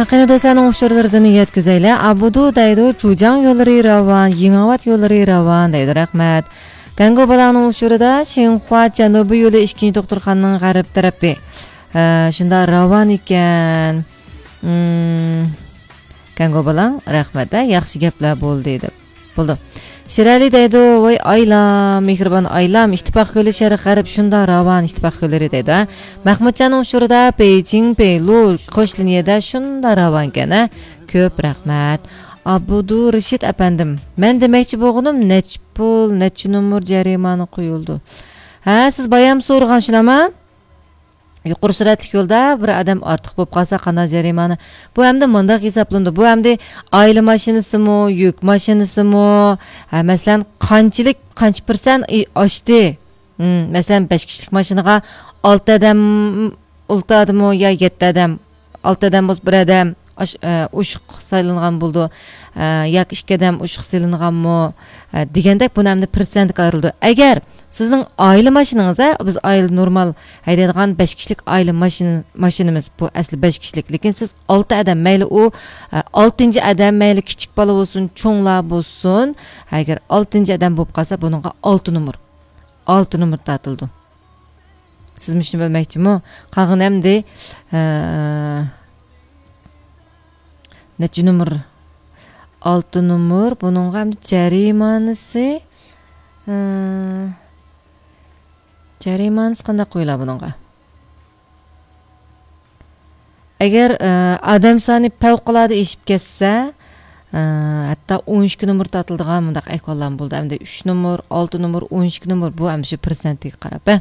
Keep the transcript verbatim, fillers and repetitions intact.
قېنى دوستلارنىڭ ئۇچۇرلىرىدىن يەتكۈزەيلى. ئابۇدۇ دەيدۇ، جۇجاڭ يوللىرى راۋان، يېڭىۋات يوللىرى راۋان دەيدۇ. رەھمەت. گەنگۇ بالاڭنىڭ ئۇچۇرىدا شىنخۇا جەنۇبىي يولى ئىككىنچى دوختۇرخانىنىڭ غەرب تەرىپى. ھە، شۇنداق راۋان ئىكەن. مم. گەنگۇ بالاڭ، رەھمەت، ھە، ياخشى گەپلەر بولدى دەپ. بولدى. شىرئەلى دەيدۇ، ۋاي ئايلام، مېھرىبان ئايلام، ئىتتىپاق يولى شەرق غەرب شۇنداق راۋان، ئىتتىپاق يوللىرى دەيدۇ، ھە. مەخمۇتجاننىڭ ئۇچۇرىدا بېيجىڭ، بېيلۇ، قوش لىنىيەدە شۇنداق راۋانكەن، ھە. كۆپ رەھمەت. ئابدۇرېشىت ئەپەندىم، مەن دېمەكچى بولغىنىم، نەچچە پۇل، نەچچە نومۇر جەرىمانە قويۇلىدۇ؟ ھە، سىز بايام سورىغان شۇنداقما؟ يۇقىرى سۈرئەتلىك يولدا بىر ئادەم ئارتۇق بولۇپ قالسا قانداق جەرىمانە؟ بۇ ئەمدى مۇنداق ھېسابلىنىدۇ. بۇ ئەمدى ئائىلە ماشىنىسىمۇ، يۈك ماشىنىسىمۇ، ھە، مەسىلەن، قانچىلىك، قانچە پىرسەنت ئى-، ئاشتى؟ ھىم، مەسىلەن، بەش كىشىلىك ماشىنىغا ئالتە ئادەم، ئالتە ئادەممۇ يا يەتتە ئادەم، ئالتە ئادەم بولسا بىر ئادەم ئاش-، ئە، ئوشۇق سايلانغان بولىدۇ، ئە، ياكى ئىككى ئادەم ئوشۇق سېلىنغانمۇ، ئە، دېگەندەك بۇنى ئەمدى پىرسەنتكە ئايرىلىدۇ. ئەگەر سىزنىڭ ئائىلە ماشىنىڭىز، ھە، بىز ئائىلە نورمال ھەيدەيدىغان بەش كىشىلىك ئائىلە ماشىنا، ماشىنىمىز، بۇ ئەسلى بەش كىشىلىك، لېكىن سىز ئالتە ئادەم، مەيلى ئۇ، ئە، ئالتىنچى ئادەم، مەيلى كىچىك بالا بولسۇن، چوڭلار بولسۇن، ئەگەر ئالتىنچى ئادەم بولۇپ قالسا، بۇنىڭغا ئالتە نومۇر، ئالتە نومۇر تارتىلىدۇ. سىزمۇ شۇنى بىلمەكچىمۇ؟ قالغىنى ئەمدى، ئە، نەچچە نومۇر؟ ئالتە نومۇر. بۇنىڭغا ئەمدى جەرىمانىسى، ئە، جەرىمانىسى قانداق قويۇلار بۇنىڭغا؟ ئەگەر، ئە، ئادەم سانى پەۋقۇلئاددە ئېشىپ كەتسە، ئە، ھەتتا ئون ئىككى نومۇر تارتىلىدىغان مۇنداق ئەھۋاللارمۇ بولىدۇ. ئەمدى ئۈچ نومۇر، ئالتە نومۇر، ئون ئىككى نومۇر، بۇ ئەمدى شۇ پىرسەنتىگە قاراپ، ھە.